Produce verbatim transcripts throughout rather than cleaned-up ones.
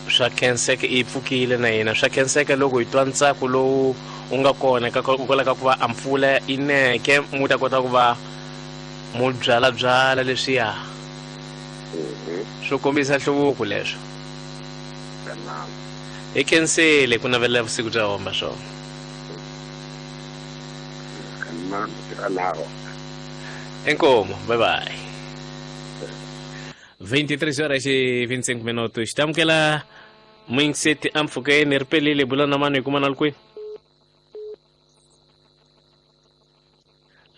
Swa khenseka i pfukile na yena. Swa khenseka loko hi twa ntsako lowu u nga kona ka kwala ka ku va a mpfula yi neke mu ta kota ku va mu byalabyala leswiya. Swo kombisa nhluvuko leswo. Hi khensile ku navelela vusiku bya homba swona. Inkomo, bye bye. vinte e três horas e vinte e cinco minutos. Tamukela muyingiseti ampfhukeni ri pelile bula na mani hi kuma na li kwihi?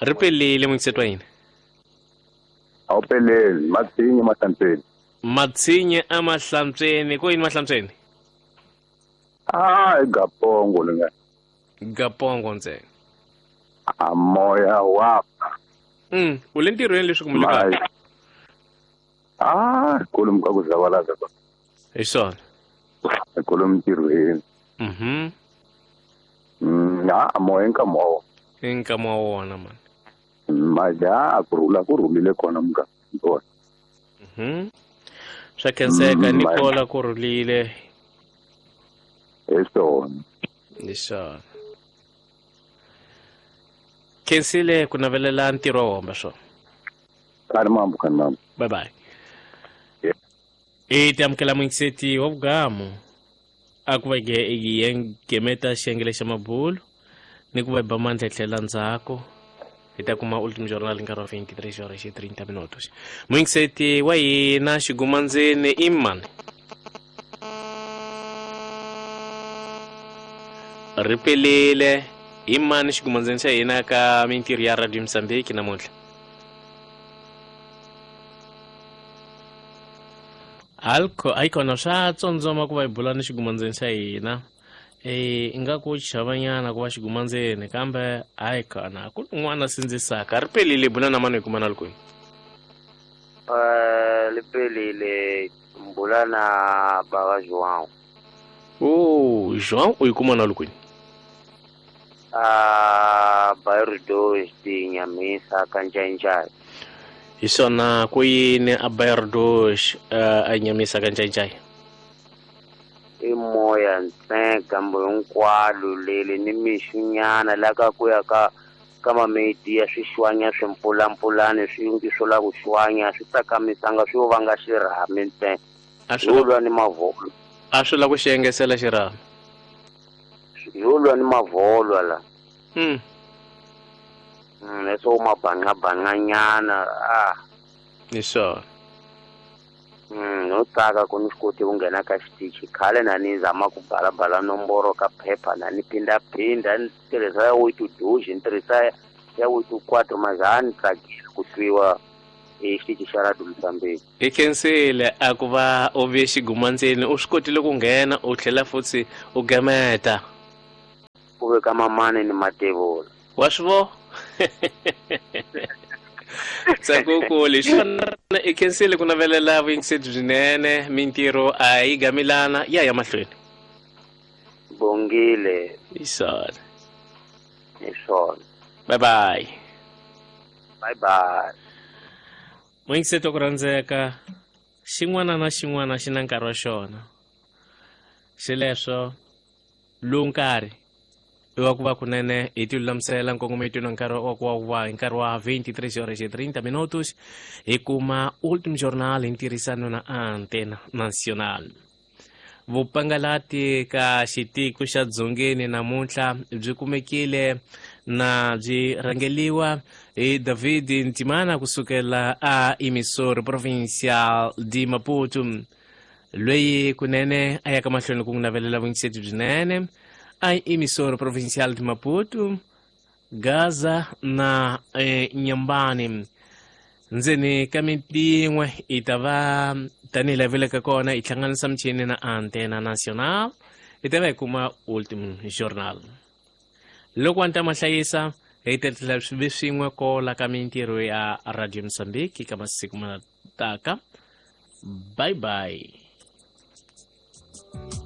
Ri pelile muyingiseti wa hina. A wu peleli, Matsinye Mahlantsweni. Matsinye a Mahlantsweni, ko yini Mahlantsweni? Ah, i Gapongo ni nga. Gapongo ntsena. A moya wa ba. Mm, u le ntirhweni leswi kumbe le kaya? Ah, kolomu ka ku zavalaza ba. Hi swona. Kolomu ntirhweni. Mhm. Mm, a moya i nkama wa wona. I nkama wa wona man. Maja ku rhula ku rhulile kona muka. Mhm. Swa khenseka ni kola ku rhulile. Hi swona. Hi swona. Khensile ku navelela ntirho wa homba swona. Kani mambo, kani mambo. Bye bye. I tamukela muyingiseti wa vugamu a ku va hi gemeta xiyenge xa mabulu ni ku va hi ba mandla hi tlhela ndzhaku hi ta kuma Ultimo Jornal nkarhi wa vinte e três horas e trinta minutos. Muyingiseti wa hina xigumandzeni i mani? Ri pelile i mani xigumandzeni xa hina ka mintirho ya Radio Mozambique namuntlha? Alco ayikona swa tsondzoma ku va hi bula ni xigumandzeni xa hina. Eh ingaku chavanyana ku va xigumandzeni kambe ayikona ku un'wana sindzisaka. Ri pelile bula na mani hi kuma na li kwihi? Eh li pelile mbula na baba João. Oh, João u yi kuma na li kwihi? Ah, bairro dois de Inhamisa ka Njainjai. Hi swona ku yini a bairro dois a Inhamisa ka Njainjai? I moya ntsena gambo hinkwalo leli ni mixunyana la ka ku ya ka ka mamedi ya swixwanya swimpfulampfulani swi ngi swo la ku xwanya swi tsakamisanga swi yo vanga xirhami ntsena. A swi lwa ni mavolo. A swi la ku xi engesela xirhami. Yo lwa ni mavolwa la. Mm. Mm, leswo mabanqabanqanyana ah. Hi swona. Mm, no tsaka ku ni swi koti ku nghena ka xitichi khale na ni zama ku balabala nomboro ka phepha na ni phindaphinda ni tirhisa ya oito dois ni tirhisa ya oito quatro mas a ni tsakisi ku twiwa hi xitichi xa Radio Mozambique. Hi khensile a ku va u ve xigumandzeni u swi kotile ku nghena u tlhela futhi u gemeta. Ku veka mamani ni matevula. Wa swi vo? Ntsako leswi i khensile ku navelela vuyingiseti byinene mintirho a yi gamilana ya ya mahlweni. Bongile. Hi swona. Hi swona. Bye bye. Bye bye. Muyingiseti wa ku rhandzeka xin'wana na xin'wana xi na nkarhi wa xona. Xileswo lowu nkarhi i wa ku va kunene hi ti lulamisela nkongometo na nkarhi wa ku wa va hi nkarhi wa vinte e três horas e trinta minutos hi kuma Ultimo Jornal hi ntirhisano na Antena Nacional. Vupangalati ka xitiko xa Dzongeni namuntlha byi kumekile na byi rhangeliwa hi David Ntimana kusukela a Emissora Provincial de Maputo loyi kunene a yaka mahlweni ku n'wi navelela vuyingiseti byinene a Emissora Provincial de Maputo, Gaza na eh, Nyambani. Ndzeni ka miti yin'we i ta va tanihi laha vileke kona hi hlanganisa michini na Antena Nacional hi ta va hi kuma Ultimo Jornal. Loko wa ni ta ma hlayisa hi ta tlhela swi ve swin'we kola ka mintirho ya Radio Mozambique ka masiku ma taka. Bye bye.